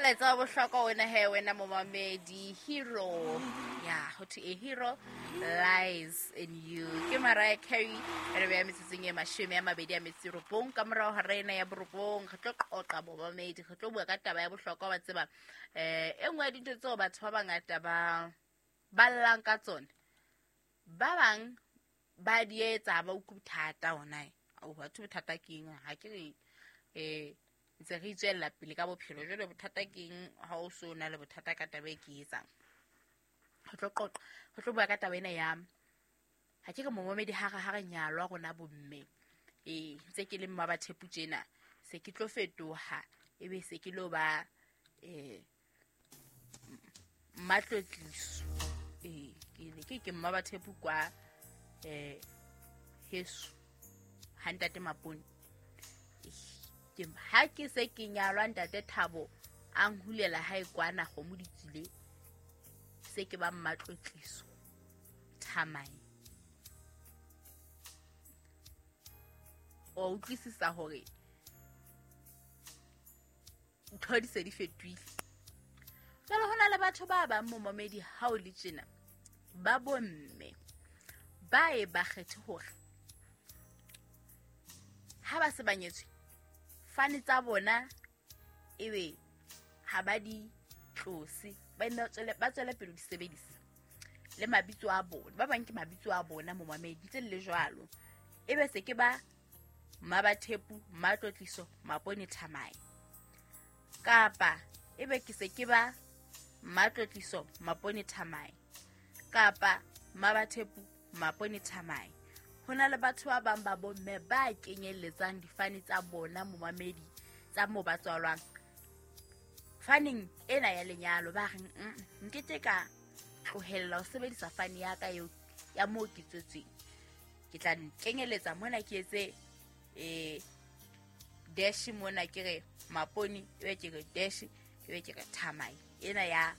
Molaetsa wa bohlokwa wena he wena momamedi hero ya ho thwe a hero lies in you ke Mariah Carey re beya metsotsong e 29 ka morago ga rena ya borobong. Re tlo qoqa momamedi, re tlo bua ka taba ya bohlokwa wa tseba e nngwe ya dintho tseo batho ba bangata ba ba llang ka tsone, ba bang ba di etsa ba utlwe bothata ona ao batho bothata ke eng ha ke re ntse re itswella pele ka bophelo jwale bothata ke eng ha o so na le bothata ka taba e ke etsang. Re tlo qoqa, re tlo bua ka taba ena ya ha ke re momamedi ha re nyalwa rona bomme ntse ke le mma ba thepu tjena se ke tlo fetoha ebe se ke lo ba mmatlotliso ke ne ke mma ba thepu kwa heso ha ntate Mapone. Ke ha ke se ke nyalwa ntate Thabo a nhulela hae kwana kgomo di tswile se ke ba mmatlotliso Thamai. O utlwisisa hore ntho di se di fetohile. Jwale ho na le batho ba bang momamedi ha o le tjena ba bomme ba e ba kgethe hore ha ba se ba nyetswe fane tsa bona ebe ha ba di tlose, ba tswele pele di sebedisa le mabitso a bona. Ba bang ke mabitso a bona momamedi ntse le jwalo ebe se ke ba Mmabathepu Mmatlotliso Mapone Thamai, kapa ebe ke se ke ba Mmatlotliso Mapone Thamai kapa Mmabathepu Mapone Thamai. Ho na le batho ba bang ba bomme ba kenyelletsang difane tsa bona momamedi tsa moo ba tswalwang faneng ena ya lenyalo, ba reng nkete ka tlohella ho sebedisa fane ya ka eo ya moo ke tswetsweng, ke tla nkenyeletsa mona ke etse dash mona ke re Mapone ebe ke re dash ebe ke re Thamai ena ya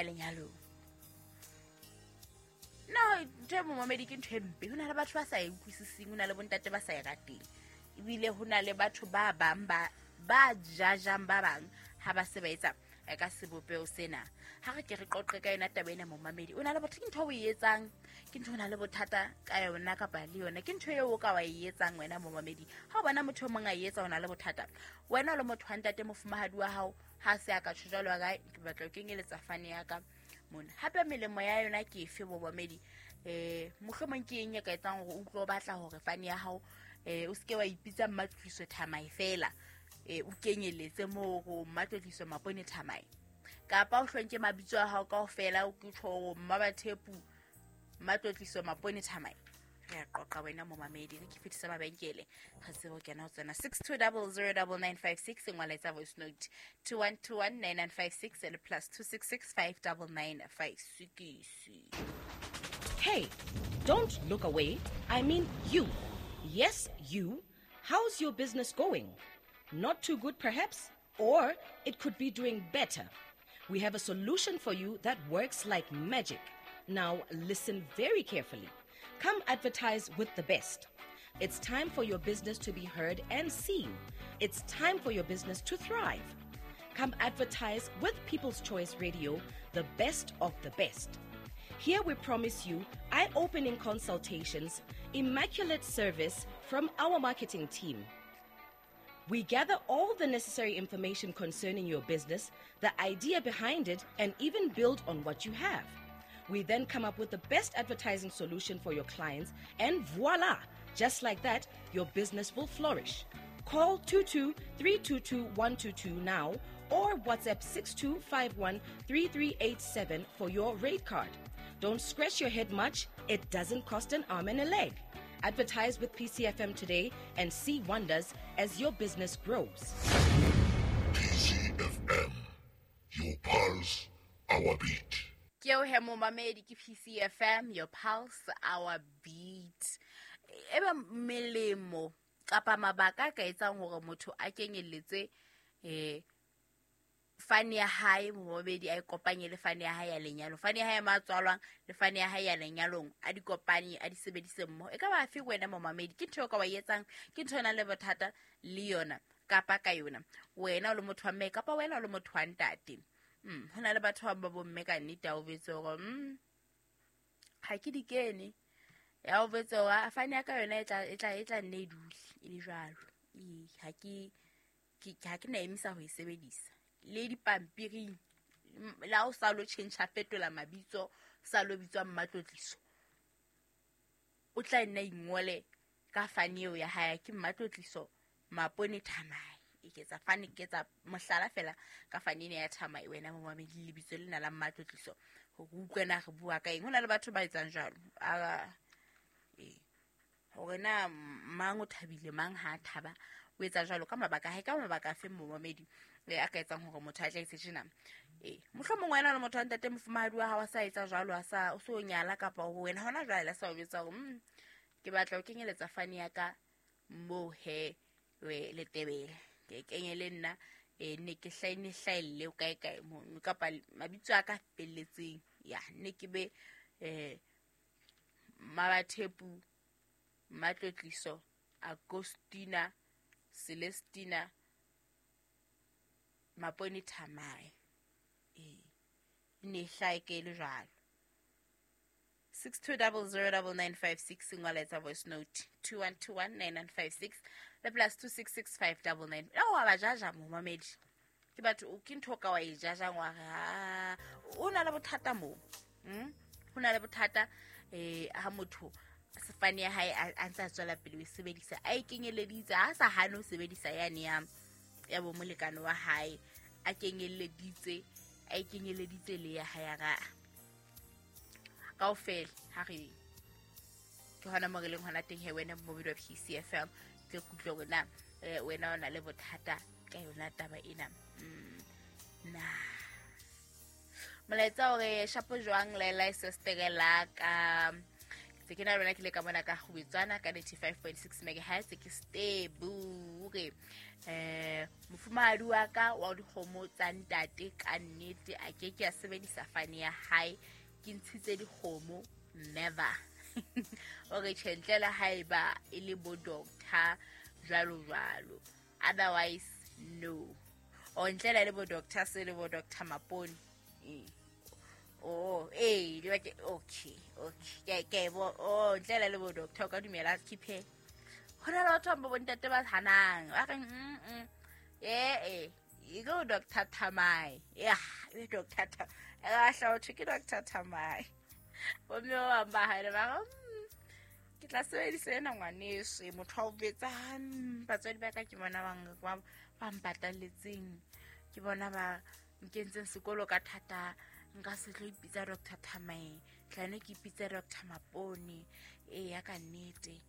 lenyalong. No ntho e momamedi ke ntho e mpe. Ho na le batho ba sa e utlwisiseng, ho na le bontate ba sa e rateng, ebile ho na le batho ba bang ba jajang ba bang ha ba se ba etsa ka sebopeho sena. Ha re ke re qoqe ka yona taba ena momamedi, o na le botho ke ntho o e etsang, ke ntho o na le bothata ka yona kapa le yona ke ntho eo o ka wa e etsang wena momamedi. Ha o bona motho o mong a e etsa o na le bothata, wena o le motho wa ntate mofumahadi wa hao ha se a ka tjho jwalo ka ke batla ho kenyeletsa fane ya ka mona. Hape melemo ya yona ke efe momamedi? Mohlomong ke eng e ka etsang hore o utlwe o batla hore fane ya hao o seke wa ipitsa Mmatlotliso Thamai fela, o kenyeletse moo ho Mmatlotliso Mapone Thamai, kapa o hlonke mabitso a hao kaofela o ke tjho hore Mmabathepu Mmatlotliso Mapone Thamai. Re a qoqa wena momamedi, re ke fetisa mabenkele re tsebe ho kena ho tsena 62009956 ngwala etsa voice note 21219956 le +266 59956. Hey, don't look away. I mean you. Yes, you. How's your business going? Not too good perhaps, or it could be doing better. We have a solution for you that works like magic. Now listen very carefully. Come advertise with the best. It's time for your business to be heard and seen. It's time for your business to thrive. Come advertise with People's Choice Radio, the best of the best. Here we promise you eye-opening consultations, immaculate service from our marketing team. We gather all the necessary information concerning your business, the idea behind it, and even build on what you have. We then come up with the best advertising solution for your clients, and voila! Just like that, your business will flourish. Call 22-322-122 now or WhatsApp 6251-3387 for your rate card. Don't scratch your head much. It doesn't cost an arm and a leg. Advertise with PCFM today and see wonders as your business grows. PCFM, your pulse, our beat. Ke eo he momamedi, ke PCFM, your pulse, our beat. Ebe melemo kapa mabaka a ka etsang hore motho a kenyelletse fane ya hae momamedi, a e kopanye le fane ya hae ya lenyalo, fane ya hae ya matswalwang le fane ya hae ya lenyalong, a di kopanye, a di sebedise mmoho. E ka ba afe wena momamedi? Ke ntho eo ka wa e etsang, ke ntho e nang le bothata le yona. kapa ka yona wena o le motho wa mme kapa wena o le motho wa ntate. Ho na le batho ba bomme ka nnete a o betse hore ha ke di kene ya o betse hore fane ya ka yona e tla nne e dule e le jwalo. Ha ke na emisa ho e sebedisa le dipampiring la o sa lo change fetola mabitso sa lo bitswa Mmatlotliso o tla nna ingole ka fane eo ya hae ke Mmatlotliso Mapone Thamae. E ketsa fane ke etsa mohlala fela ka fane ena ya Thamae wena momamedi lebitso lena la Mmatlotliso hore utlwe na re bua ka eng. Ho na le batho ba etsang jwalo hore na mang o thabile mang ha thaba o etsa jwalo ka mabaka hae ka mabaka a feng momamedi a ka etsang hore motho a tla etse tjena. Mohlomong wena le motho wa ntate mofumahadi wa hao a sa etsa jwalo a sa o so nyala kapa ho wena hona jwale a sa o betsa hore ke batla ho kenyeletsa fane ya ka mo he we letebele ke kenye le nna ne ke hlaelle kae kae mo kapa mabitso a ka felletseng ya ne ke be Mabathepu Mmatlotliso Agostina Celestina Mapone Thamae. Ne hlae ke le jwalo. 62009956 ngola voice note 21219956 le plus 266599. O ba jaja momamedi ke batho ke ntho ka wa e jaja ngwa ha o na le bothata mo. Ho na le bothata ha motho sefane ya hae a ntse a tswela pele ho sebedisa a ikenyeleditse a sa hane ho sebedisa yane ya bo molekane wa hae a kenyeleditse a ikenyeleditse le ya hae ga kaofela ha re ke hona mo re leng hona teng he wena mobile wa PCFM ke kutlwe hore na wena o na le bothata ka yona taba ena. Na molaetsa hore shapo jwang la sister la ka se ke na lona ke le ka mona ka Kgubetswana ka 95.6 MHz ke stable re mofumahadi wa ka wa dikgomo tsa ntate ka nnete a ke ke a sebedisa fane ya hae ke ntshitse dikgomo never. O re tjhentlela haeba e le bo doctor jwalo jwalo otherwise no. O ntlela le bo doctor se le bo doctor Mapone. Oh, okay, okay. Ke bo oh ntlela le bo doctor ka dumela khiphe. Hona le batho ba bontate ba hanang. Ba re e go Doctor Thamae. Yeah, e Doctor Thamae. A hla o ke Doctor Thamae. Bo mme ba ba hae ba ke tla sebedisa ena ngwaneso motho a o betsa batswadi ba ka ke bona ba mpatalletseng ke bona ba nkentseng sekolo ka thata nka se tlo ipitsa Doctor Thamae tlane ke ipitsa Doctor Mapone ya ka nnete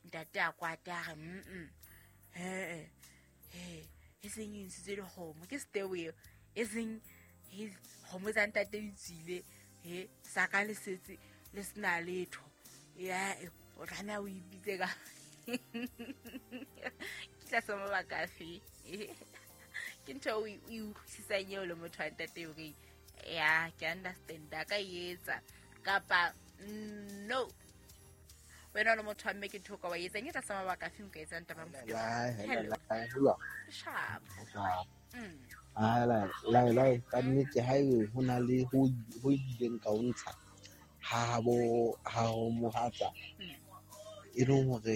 ntate a kwata a re e seng e ntshitse dikgomo ke steweo e seng kgomo tsa ntate di tswile sa ka le setse le sena letho ya o tlameha o ipitse ka ke tlasa mabaka afe ke ntho o e utlwisisang eo le motho wa ntate hore ya ke understand a ka etsa kapa no wena le motho wa mme ke ntho ka wa etsang e tlasa mabaka afe nka etsang taba mofuta. Sharp. La ka nnete ha e ho na le ho ileng ka o ntsha ha bo ha o mohatsa e leng hore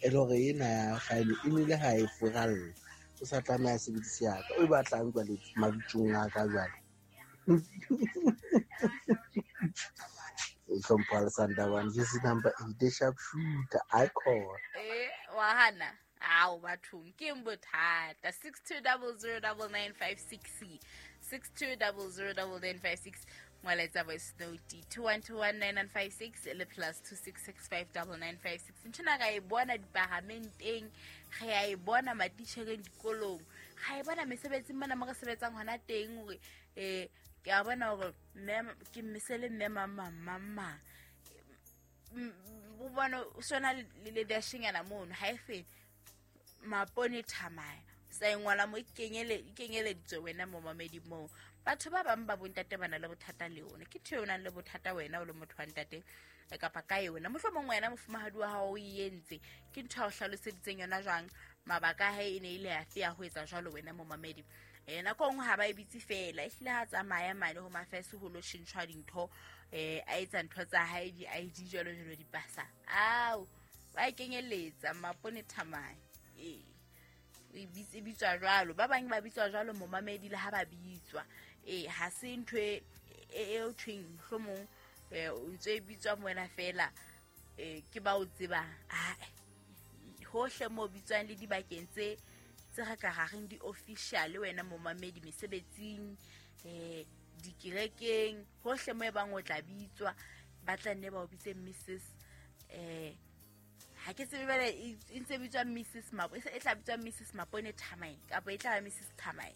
e le hore ena ya file e nile ha e furalle o sa tlameha sebedise ya ka o batlang jwale mabitsong a ka jwale o hlompha le Sandawana this number 8 sharp shooter icon wa hana ao bathong ke bothata 62009956 62009956 molaetsa voice note 21219956 le plus 26659956 nthona ga e bona diparamenteng re a e bona matitjhereng dikolong ga e bona mesebetsing mona mo re sebetsang hona teng hore ke a bona hore mme ke mesele mme mama o bona sona le dashingana mono ha e fele Mapone Thamae Sa e ngola mo ikenyeleditswe wena momamedi moo. Batho ba bang ba bontate ba na le bothata le yona. Ke ntho eo o nang le bothata wena o le motho wa ntate kapa ka yona. Mohlomong wena mofumahadi wa hao o e entse. Ke ntho ya o hlaloseditseng yona jwang? Mabaka a hae e ne ile afe ya ho etsa jwalo wena momamedi? Nako nngwe ha ba e bitse fela, ehlile ha tsamaya mane ho mafese ho lo tjhentjhwa dintho, a etsa ntho tsa hae di-ID jwalo jwalo dipasa. Ao, ba e kenyeletsa Mapone Thamae. E bitswa jwalo. Ba bang ba bitswa jwalo momamedi le ha ba bitswa. Ha se ntho e thweng mohlomong o ntse e bitswa wena fela, ke ba o tsebang. Hohle mo bitswang le dibakeng tse re ka reng di-official wena momamedi, mesebetsing, dikerekeng, hohle mo e bang o tla bitswa, ba tla nne ba o bitse Mrs. Ha ke tsebe bale e ntse bitswa Mrs. Mapo, e tla bitswa Mrs. Mapone Thamae kapa e tla ba Mrs. Thamae.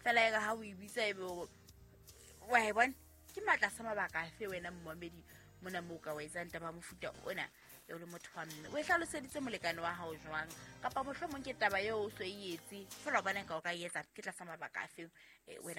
Fela e re ha o e bitsa ebe wa e bona ke matla sa mabaka afe wena momamedi mona moo ka wa etsang taba mofuta ona e le motho wa mme. O e hlaloseditse molekane wa hao jwang? Kapa mohlomong ke taba eo o so e etse fela o bona ka o ka e etsa ke tlasa mabaka afe wena?